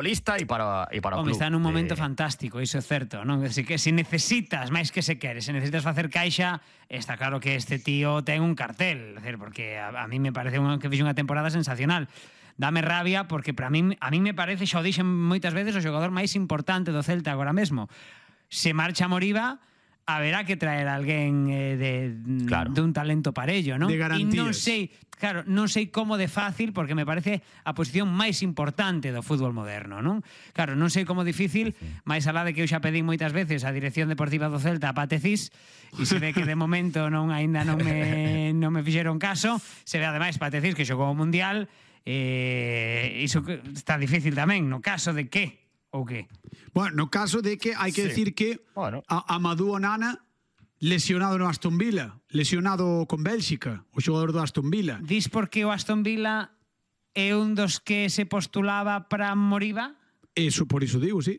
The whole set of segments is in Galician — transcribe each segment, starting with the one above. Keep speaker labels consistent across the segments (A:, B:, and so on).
A: futbolista e para o club.
B: Está nun momento fantástico, iso é certo, non? Así que se necesitas, máis que se queres, se necesitas facer caixa, está claro que este tío ten un cartel, porque a mí me parece que fixe unha temporada sensacional. Dame rabia porque a mí me parece, xa o dixen moitas veces, o xogador máis importante do Celta agora mesmo. Se marcha Moriba, haberá que traer a alguén de un talento parello, non?
C: De garantías.
B: E non sei como de fácil, porque me parece a posición máis importante do fútbol moderno, non? Claro, non sei como difícil, máis alá de que eu xa pedín moitas veces a dirección deportiva do Celta a Pate Cis, e se ve que de momento aínda non me fixeron caso, se ve ademais Pate Cis que xogou o Mundial, iso está difícil tamén, no caso de que ou que?
C: Bueno, no caso de que hai que decir que Amadou Onana lesionado no Aston Villa, lesionado con Bélxica, o xogador do Aston Villa.
B: Dis porque o Aston Villa é un dos que se postulaba para Moriba?
C: Eso, por iso digo, sí.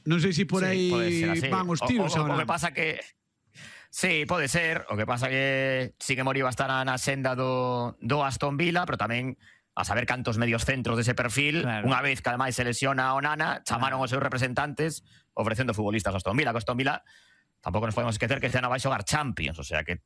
C: Non sei se por aí van os tiros agora.
A: O que pasa que sí, pode ser. O que pasa que sí que Moriba estará na senda do Aston Villa, pero tamén a saber cantos medios centros dese perfil, unha vez que ademais se lesiona a Onana, chamaron os seus representantes ofrecendo futbolistas a Aston Villa, que Aston Villa tampouco nos podemos esquecer que este ano vai xogar Champions, o sea que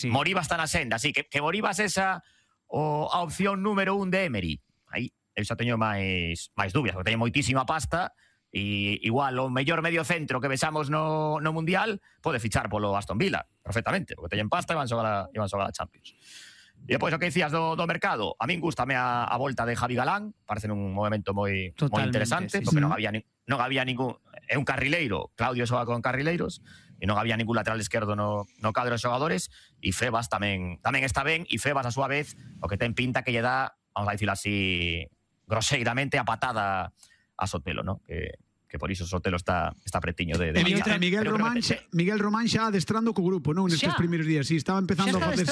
A: Moriba está na senda, así que Moriba é esa a opción número 1 de Emery. Aí eu xa teño máis dúbidas, porque teño moitísima pasta e igual o mellor medio centro que vexamos no Mundial pode fichar polo Aston Villa perfectamente, porque teñen pasta e van xogar a Champions. E depois o que dicías do mercado, a min gústame a volta de Javi Galán, parece un movimento moi interesante, porque non había ningún, é un carrileiro, Claudio xoga con carrileiros, e non había ningún lateral esquerdo no cadro de xogadores, e Febas tamén está ben, e Febas a súa vez o que ten pinta que lle dá, vamos a dicirlo así groseiramente, a patada a Sotelo, ¿no? Que por iso Sotelo está pretiño de
C: Miguel Román xa adestrando co grupo, non? Nestes primeiros días, sí, estaba empezando a facer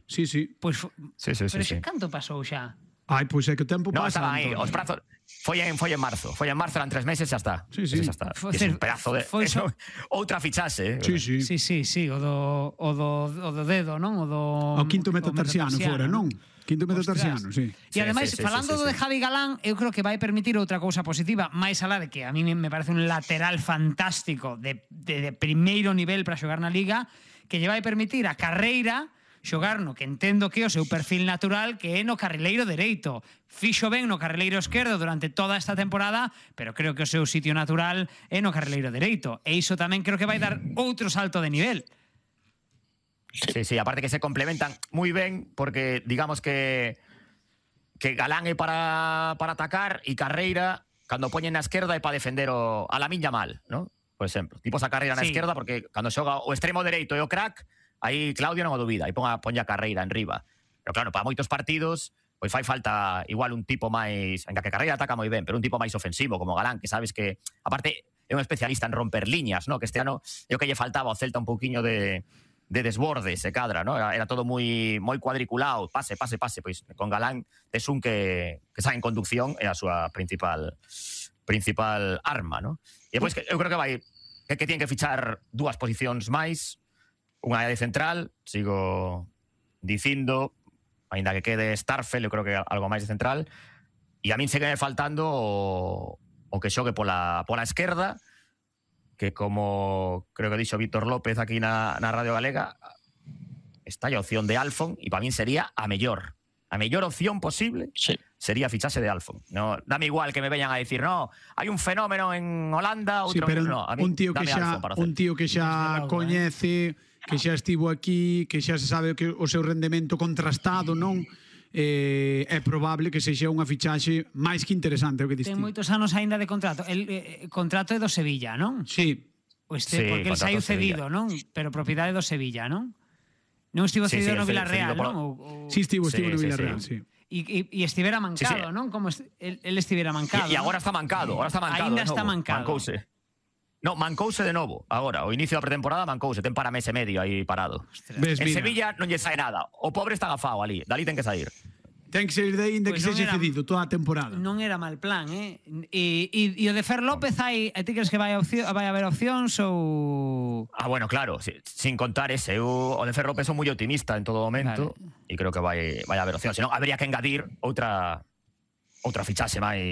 C: sí.
B: Pero xe canto pasou xa?
C: Ai, pois é que o tempo pasa.
A: No, estaba aí, os prazos foi en marzo, eran 3 meses, xa está.
C: Sí.
A: Xa está. É un pedazo de outra fichaxe,
B: Sí, o do dedo, non? O
C: quinto metatarsiano fora, non? Quinto metatarsiano, sí.
B: E ademais, falando do de Javi Galán, eu creo que vai permitir outra cousa positiva, máis alá de que a mí me parece un lateral fantástico de primeiro nivel para xogar na Liga, que lle vai permitir a carreira xogar no que entendo que é o seu perfil natural, que é no carrileiro dereito. Fixo ben no carrileiro esquerdo durante toda esta temporada, pero creo que o seu sitio natural é no carrileiro dereito. E iso tamén creo que vai dar outro salto de nivel.
A: Sí, aparte que se complementan moi ben, porque digamos que Galán é para atacar e Carreira, cando poñen na esquerda, é para defender a Lamine Yamal, ¿no? Por exemplo, tipo esa Carreira na esquerda, porque cando xoga o extremo dereito e o crack, aí Claudio non o dubida, aí ponlle a Carreira en riba. Pero claro, para moitos partidos pois fai falta igual un tipo máis, en que Carreira ataca moi ben, pero un tipo máis ofensivo como Galán, que sabes que aparte é un especialista en romper liñas, ¿no? Que este ano é o que lle faltaba ao Celta un pouquiño de desborde, se cadra, ¿no? Era todo moi cuadriculado, pase, pois con Galán tes un que sae en conducción é a súa principal arma, ¿no? E depois eu creo que tienen que fichar 2 posicións máis, unha de central, sigo dicindo, ainda que quede Starfel, eu creo que algo máis de central, e a min segue faltando o que xogue pola esquerda, que como creo que dixo Víctor López aquí na Radio Galega, está a opción de Alfon, e para min sería a mellor opción posible, sería fichase de Alfon. No, dame igual que me veñan a decir, no, hai un fenómeno en Holanda, outro no, a mí, un tío
C: que xa coñece, que xa estivo aquí, que xa se sabe que o seu rendemento contrastado, non? É probable que sexa unha fichaxe máis que interesante o que diste.
B: Ten moitos anos aínda de contrato. El contrato é do Sevilla, non?
C: Sí.
B: Porque el saiu cedido, non? Pero propiedade do Sevilla, non? Non estivo cedido no Villarreal, non?
C: Sí, estivo no Villarreal, sí.
B: E estivera mancado, non? Como el estivera mancado.
A: E agora está mancado,
B: Ainda está mancado.
A: Mancouse de novo, agora, o inicio da pretemporada mancouse, ten para mes e medio aí parado. En Sevilla non lle sae nada, o pobre está agafado ali, dali ten que sair.
C: Ten que sair de aí, que sexe cedido toda a temporada.
B: Non era mal plan, E o de Fer López hai, ti crees que vai haber opcións ou...
A: Bueno, claro, sin contar ese, o de Fer López son moi optimista en todo momento, e creo que vai haber opcións, senón habría que engadir outra outra fichaxe máis